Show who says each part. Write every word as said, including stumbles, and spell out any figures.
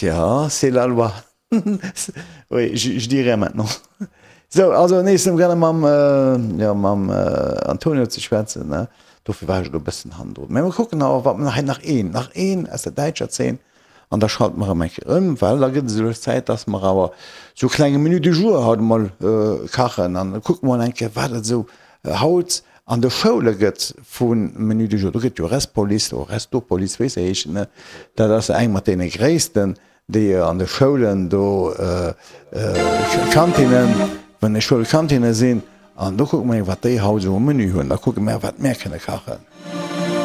Speaker 1: Tja, c'est la loi. Oui, je, je dis rien maintenant. Sou, also nees um gerne mam, jo, mam Antonio ze schwätzen, ne? Dofir war ech elo e bëssen hannendrun. Mä mer kucken awer, wat mer hei nach een, nach een aus der däitscher Zeen an da schalte mer erëm eng Kéier ëm, well da gëtt et esou Zäit, dass mer awer sou e klenge Menu du jour haut emol kachen an da kucke mer mol eng Kéier, wat et esou haut an de Schoule gëtt vu Menu du jour. Do gëtt jo Restpolice oder Restopolice, wéi se heeschen, ne? Dat ass eng mat deene gréissten. Déi an de Schoulen do Kantinnen, wann de Schoulkantinne sinn, an do kucke mer, wat déi haut esou um Menü hunn, da kucke mer, wat mär kënne kachen.